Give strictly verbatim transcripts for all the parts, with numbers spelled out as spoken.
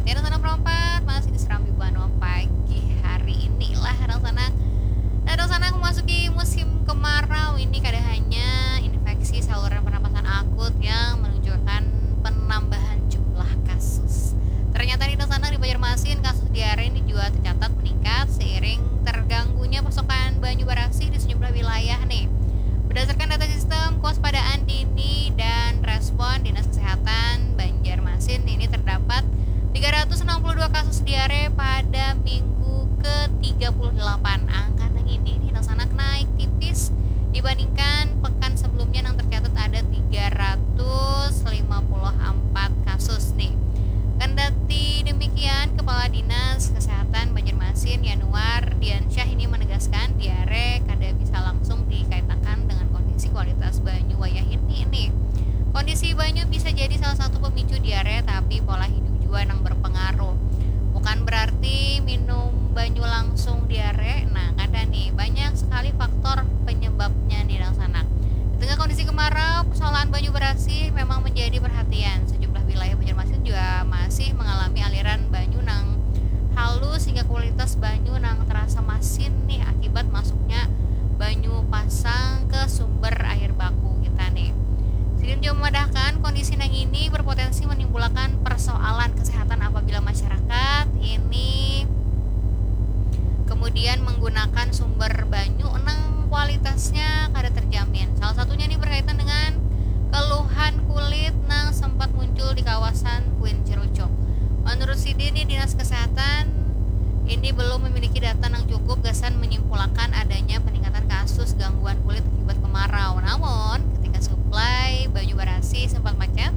Tiada sana perompat masih di Serambi Banua pagi hari ini lah, orang sana. Nah, orang sana memasuki musim kemarau ini, kada hanya infeksi saluran pernapasan akut yang menunjukkan penambahan jumlah kasus. Ternyata di sana di Banjarmasin, kasus diare ini juga tercatat meningkat seiring terganggunya pasokan banyu barasih di sejumlah wilayah nih. Berdasarkan data sistem kewaspadaan dini dan respon Dinas Kesehatan Banjarmasin, ini terdapat tiga ratus enam puluh dua kasus diare pada minggu ke tiga puluh delapan. Angka nang ini di sana naik tipis dibandingkan pekan sebelumnya yang tercatat ada tiga ratus lima puluh empat kasus nih. Kendati demikian, Kepala Dinas Kesehatan Banjarmasin, Yanuar Diansyah, ini menegaskan diare kada bisa langsung dikaitakan dengan kondisi kualitas banyu wayah ini nih. Kondisi banyu bisa jadi salah satu pemicu diare, tapi pola hidup juga yang berpengaruh. Bukan berarti minum banyu langsung diare. Nah, kada nih, banyak sekali faktor penyebabnya nih, orang sana. Di tengah kondisi kemarau, persoalan banyu barasih memang menjadi perhatian. Sejumlah wilayah Banjarmasin juga masih mengalami aliran banyu nang halus hingga kualitas banyu nang terasa masin nih akibat masuknya banyu pasang ke sumber air baku kita nih. Sidin juga memadahkan kondisi nang ini berpotensi menimbulkan persoalan kesehatan apabila masyarakat ini kemudian menggunakan sumber banyu nang kualitasnya kada terjamin. Salah satunya ini berkaitan dengan keluhan kulit nang sempat muncul di kawasan Kuin Cerucuk. Menurut sidin nih, Dinas Kesehatan ini belum memiliki data nang cukup gasan menyimpulkan adanya peningkatan kasus gangguan kulit akibat kemarau. Namun, ketika suplai banyu barasih sempat macet,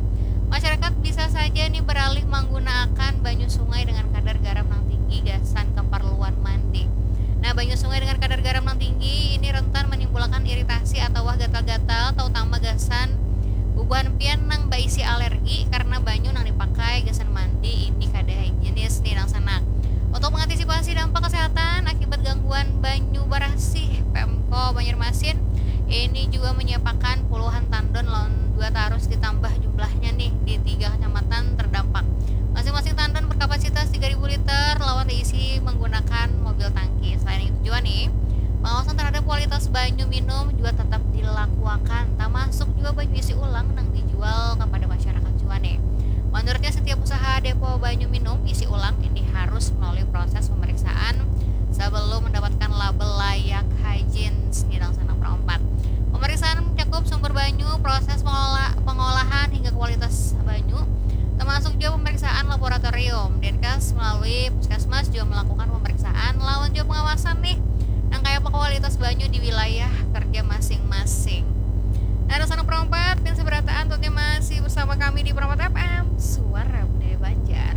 masyarakat bisa saja nih beralih menggunakan banyu sungai dengan kadar garam nang tinggi gasan keperluan mandi. Nah, banyu sungai dengan kadar garam nang tinggi ini rentan menimbulkan iritasi atau gatal-gatal, terutama gasan bubuhan pian nang baisi alergi karena banyu nang dipakai gasan mandi ini kada higienis nih, orang sana. Untuk mengantisipasi dampak kesehatan akibat gangguan banyu barasih, Pemko Banjarmasin ini juga menyiapkan puluhan tandon lawan dua tarus ditambah jumlahnya nih di tiga kecamatan terdampak. Masing-masing tandon berkapasitas tiga ribu liter lawan diisi menggunakan mobil tangki. Selain itu juga nih, pengawasan terhadap kualitas banyu minum juga tetap dilakukan, termasuk juga banyu isi ulang nang dijual kepada masyarakat juga nih. Menurutnya, setiap usaha depo banyu minum isi ulang ini harus melalui proses pemeriksaan sebelum mendapatkan label layak hygiene, nih, orang sana perompat. Pemeriksaan mencakup sumber banyu, proses pengola- pengolahan hingga kualitas banyu, termasuk juga pemeriksaan laboratorium. Dinkes melalui Puskesmas juga melakukan pemeriksaan lawan juga pengawasan nih, nang kaya apa kualitas banyu di wilayah kerja masing-masing. Nah, orang sana perompat, pian sabarataan, tentunya masih bersama kami di Perompat F M, Suara Budaya Banjar.